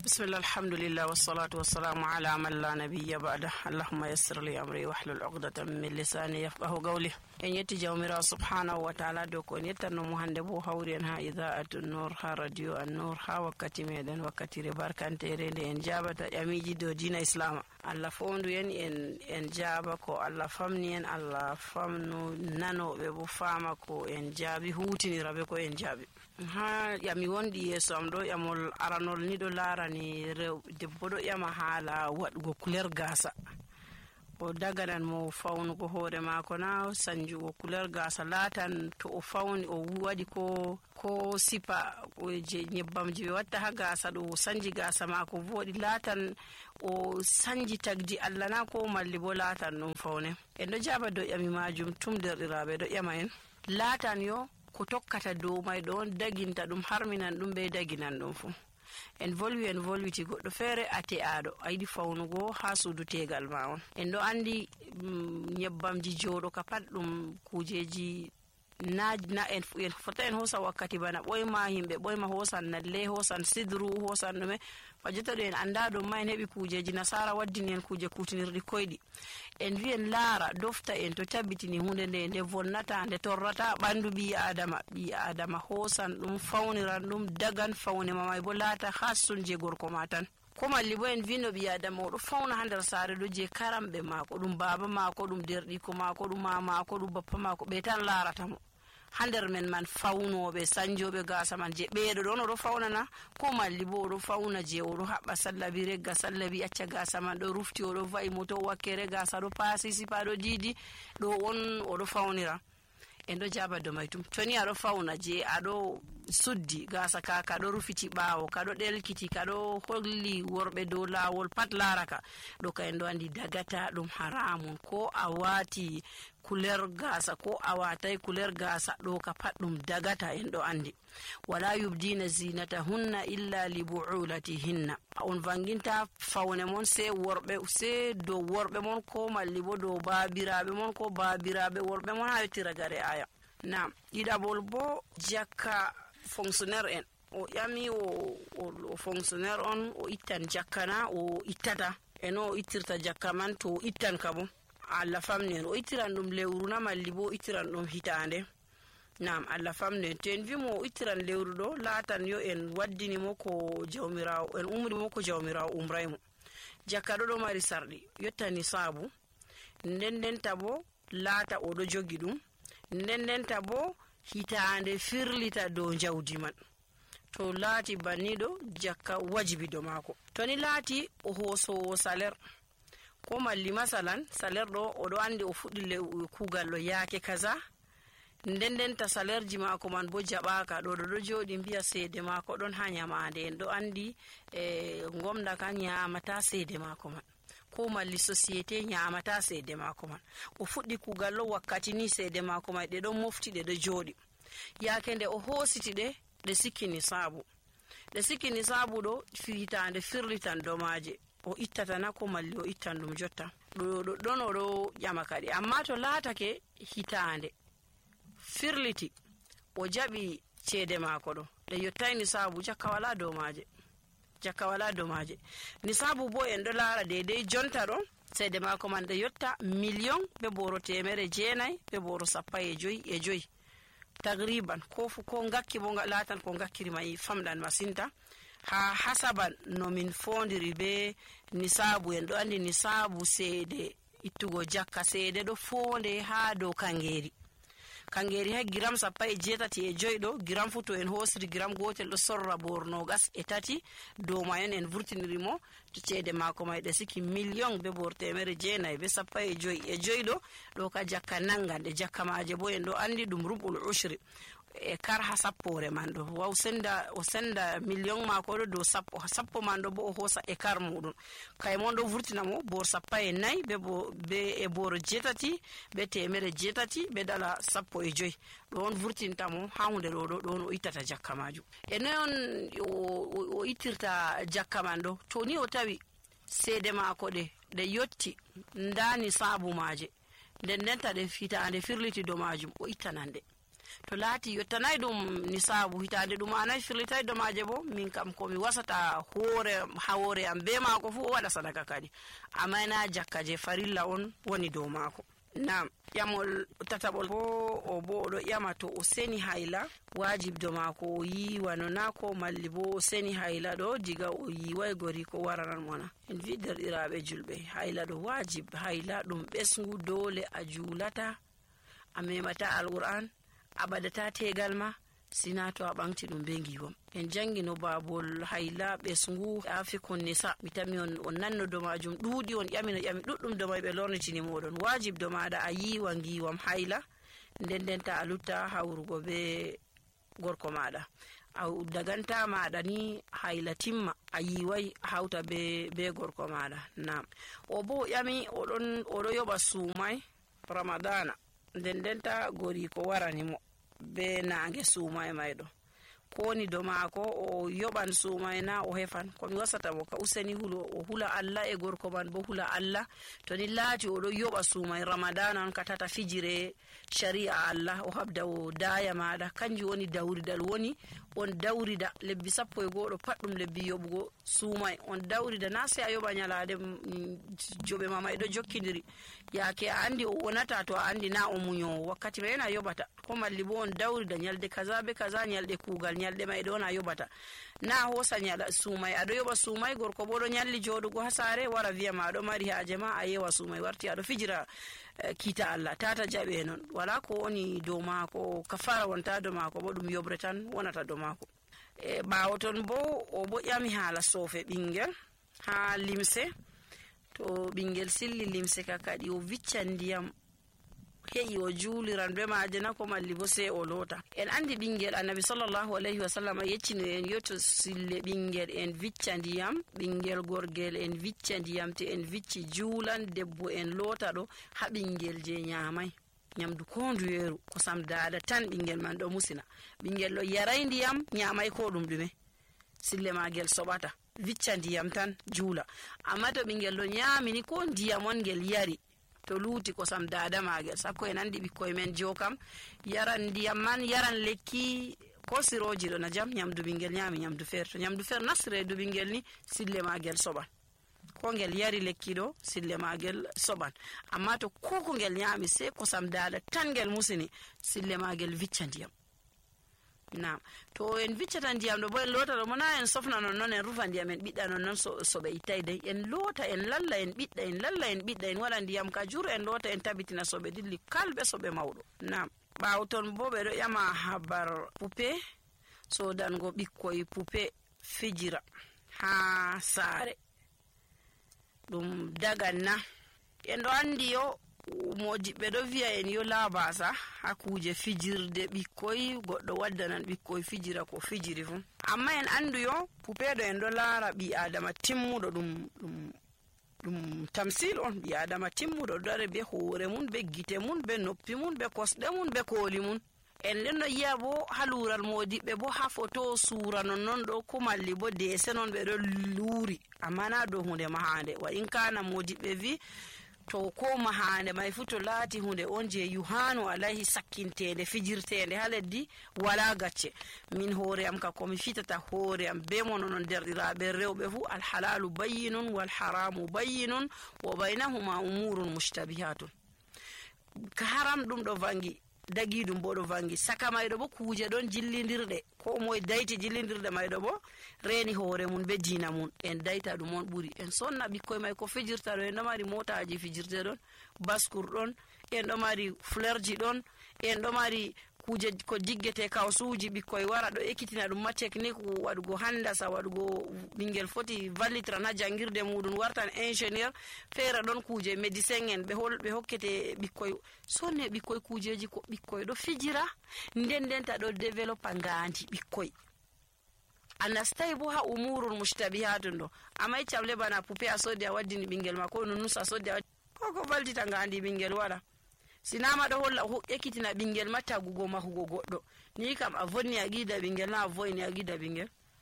bismillah alhamdulillah wassalatu wassalamu ala man la nabiyya ba'da allahumma yassir li amri wahlul 'uqdatan min lisani yafqahu qawli. En yetti jawmira subhanahu wa ta'ala do ko yettanno mo hande bo hawri en ha idaa'atun nur ha radio an-nur ha wakkati meden wakkatire barkantere nde en jabata yamiji do dina islam. Allah fondu en jaba ko Allah famni en, Allah famnu nanobe bo fama ko en jabi hutinirabe ko en jabi. Ha yami wondi yeso am do yamol aranol ni do larani rew debbo do yama hala wadugo couleur gasa o daganan mo fawnugo hoore mako na sanjugo couleur gasa latan to o fawni o wadi ko sipa o je nyebbamji be watta ha gasa do sanji gasa mako vodi latan o sanji tagdi Allah na ko malli bo latan non fawne en do jaba do yami majum tum derdirabe do yama en latan yo ko tokkata dow may don daginta dum harminan dum be daginan dum fu en volwiti goddo fere ate ado ayidi fawnugo ha sudu tegal ma on en do andi nyebbamji jodo ka pat dum kujeji na en fota en hosa wakkati bana boyma himbe boyma hosan nalle hosan sidru hosan dume fajita do en anda do may hebi kujeji nasara waddini en kuje kutinirdi koydi en wien lara dofta en to tabbitini hunde nde vonnata nde torrata bandu bi adama hosan dum fawniran dum dagan fawne mamay bo lata khasun je gorko matan ko malli bo en vino bi adama do fawna hander sare do je karambe mako dum baba mako dum derdi ko mako dum mama ko dum bappa mako be tan larata mo hander men man fawnobe sanjobe gasa man je beedo don do fawnana ko malli bo do fawna je o do habba sallabi regga sallabi acca gasa man do rufti o do vai moto wakkere gasa do pasi sipa do didi do on o do fawnira en do jaba do maytum toni ado fawna je ado suddi gasa ka do rufiti bawo ka do delkiti ka do holli worbe do lawol pat laraka do ka en do andi dagata dum haramun ko awati couleur gasa ko awatai couleur gasa do ka pat dum dagata en do andi wala yubdina zinatahunna illa li bu'ulatihinna on vanginta fawne mon se do worbe mon ko malli bo do babirabe mon ko babirabe worbe mon ha yotira gare aya na idabol bo jakka fonctionnaire en o yami o fonctionnaire on o ittan jakkana o ittata eno ittirta jakka man to ittan kabo Allah famnen o ittiran dum lewru na malli bo ittiran dum hitande nam Allah famnen ten vimo ittiran lewru do latan yo en waddini mo ko jawmirawo en umri mo ko jawmirawo umraymo jakka do mari sardi yottani sabu nden tabo lata o do jogi dum nden tabo hitande firlita do jawdi man to lati banido jakka wajibi do mako to ni lati o hoso salaire ko malli masalan salaire do o do andi o fuddi kugal lo yaake kaza nden ta salaire ji mako man bo jabaka do jodi biya seede mako don ha nyamande en do andi ngomda kan nyamata seede mako man ko malli société nyamata seede mako man o fuddi kugal lo wakkati ni seede mako man de don mofti de do jodi yaake nde o hositi de sikini sabu do fitande firlitan domaje o ittata na ko malli o ittan dum jotta don o do yama kadi amma to laatake hitande firliti o jabi cede mako do de yottayni sabu jakka wala domaje ni sabu bo en do lara de jonta do cede mako man de yotta million be boro temere jeenay be boro sappa e joyi tagriban ko ngakki bo latan ko ngakkiri mai famdan masinta ha hasaban no min fondiri be nisabu en do andi nisabu seede ittugo jakka seede do fonde ha do kangeri ha gram sappa e jetati e joydo gram futo en hosri gram gotel do sorra borno gas e tati do mayen en vurtinirimo to ceede mako may de siki million be bortemere jeenay be sappa e joydo do ka jakka nangande jakka maaje bo en do andi dum rubul ushri e kar ha sappore man do o senda million mako do sappo man do bo o hosa e kar mudun kay mon do vurtina mo bor sappa e nay be e bor jetati be temere jetati be dala sappo e joy do on vurtinta mo ha hunde do o itata jakka maju e non o itirta jakka man do to ni o tawi seede mako de yotti ndani sabu maaje nden ta de fita ande firliti do majum o ittanande to laati yottanay ɗum nisabu hitande ɗum anayi firlitay domaje bo min kam komi wasata hawore am be maako fu o waɗa sadaka kadi amma na jakka je farilla on woni dow maako. Nam ƴamol tataɓol bo o bo oɗo ƴama to o seni hayla wajibdo maako o yiwa no nako malli bo o seni hayla ɗo diga o yiway gori ko waranan mona. En vi derɗiraɓe julɓe hayla ɗo wajib hayla ɗum ɓesngu dole a julata a memata alquran a ɓadata tegal ma sina to a ɓamti ɗum be giwom. En jangino babol hayla ɓesngu afikon nisa mi tami on nanno do majum ɗuuɗi on ƴamino ƴami ɗuɗɗum do may ɓe lornitini moɗon wajib do maɗa a yiwa giwam hayla nden ta a lutta hawrugo be gorko maɗa a daganta maɗa ni hayla timma a yiwai hawta be gorko maɗa. Nam o bo ƴami oɗo yoɓa sumai ramadana nden ta gori ko warani mo be nange sumai mayɗo koni do maako o yoɓan sumai na o hefan komi wasata mo ka useni o hula Allah e gorko man bo hula Allah to ni laati oɗo yoɓa sumai ramadana on ka tata fijire shari'a Allah o habda o daya maɗa kanjum woni dawridal woni on dawrida lebbi 11 pat ɗum lebbi yoɓugo sumai on dawrida na sai a yoɓa nyalade joɓe mama ɗo jokkidiri yake a andi o wonata to a andi na o muñowo wakkati mai a yoɓata ko malli bo on dawrida nyalde kaza be kaza nyalde kugal nyalde mai ɗo na yoɓata na hosa nyala sumai aɗo yoɓa sumai gorko bo ɗo nyalli joɗugo ha sare wara wiya ma aɗo mari haaje ma a yewa sumai warti aɗo fijira kita Allah tata jaɓe non wala ko woni dow maako kafara wonta dow maako bo ɗum yobre tan wonata dow maako. E ɓawo ton bo o bo ƴami haala soofe ɓingel ha limse to ɓingel silli limse ka kadi o viccan ndiyam heƴi o juuliran be maje na ko malli bo sai o loota. En andi ɓingel annabi sallallahu alayhi wa sallam yeccino en yo to sille ɓingel en vicca ndiyam ɓingel gorgel en vicca ndiyam te en vicci juulan debbo en loota ɗo ha ɓingel je nyamai nyamdu ko nduyeru kosam dada tan ɓingel man ɗo musina ɓingel ɗo yaray ndiyam nyamai ko ɗum ɗume sille magel soɓata vicca ndiyam tan juula amma to ɓingel ɗo nyamini ko ndiyam on ngel yari to luuti kosam dada magel sakko en andi ɓikkoye men jokam yaran ndiyam man yaran lekki ko siroji ɗo na jam nyamdu ɓingel nyami nyamdu feere to nyamdu feere nasti reedu ɓingel ni sille magel soɓan ko ngel yari lekki ɗo sille magel soɓan amma to ko ngel nyami sai kosam dada tan ngel musini sille magel vicca ndiyam. Nam to en viccata ndiyam ɗo bo en loota ɗo mona en sofna non en rufa ndiyam en ɓiɗɗa non so ɓe ittay dey en loota en lalla en ɓiɗɗa en lalla en ɓiɗɗa en waɗa ndiyam ka jur en loota en tabitina so ɓe dilli kalɓe so ɓe mawɗo. Nam ɓawo ton bo ɓe ɗo ƴama habar pupe sodango ɓikkoye pupe fijira ha saare ɗum dagan na en ɗo andi yo mojiɓɓe ɗo wiya en yo labasa ha kuje fijirde ɓikkoy goɗɗo waddanan ɓikkoy fijira ko fijiri fu amma en andu yo pupeɗo en ɗo laara ɓi adama timmuɗo ɗum tamsil on ɓi adama timmuɗo dare be hoore mun be gite mun be noppi mun be kosɗe mun be kooli mun en ɗen no yiya bo ha luural modiɓɓe bo ha foto suura non ɗo ko malli bo dese non ɓe ɗo luuri amma na dow hunde mahande wa in kana modiɓɓe vi to ko mahande mai fu to laati hunde on je yuhanu alayhi sakkintende fijirtende ha leddi wala gacce min hoore am ka komi fitata hoore am be mono non derɗiraɓe rewɓe fu alhalalu bayyinun wal haramu bayyinun wa baynahuma umurun mushtabihatun ka haram ɗum ɗo vangi dagi ɗum bo ɗo vangi saka mayɗo bo kuje ɗon jillidirɗe ko moye dayti jillidirɗe mayɗo bo reni hoore mun be diina mun en dayta ɗum on ɓuri en sonna ɓikkoye may ko fijirta ɗo en ɗo mari motaji fijirte ɗon baskur ɗon en ɗo mari fleurji ɗon en ɗo mari kuje ko diggete kawsuji ɓikkoye wara ɗo ekkitina ɗum ma technique waɗugo handasa waɗugo ɓingel foti vallitran ha jangirde muɗum wartan ingénieur feere ɗon kuje médecin en ɓe hokkete ɓikkoye sonne ɓikkoye kujeji ko ɓikkoye ɗo fijira ndenta ɗo développa ngandi ɓikkoye a nastay bo ha umurul mushtabihatun ɗo amay camle bana poupe a sodi a waddini ɓingel ma ko nunus a sodi a ko vallita ngandi ɓingel waɗa sinama ɗo holla ekkitina ɓingel ma tagugo mahugo goɗɗo ni kam a vonni a gida ɓingel na a voyni a gida ɓingel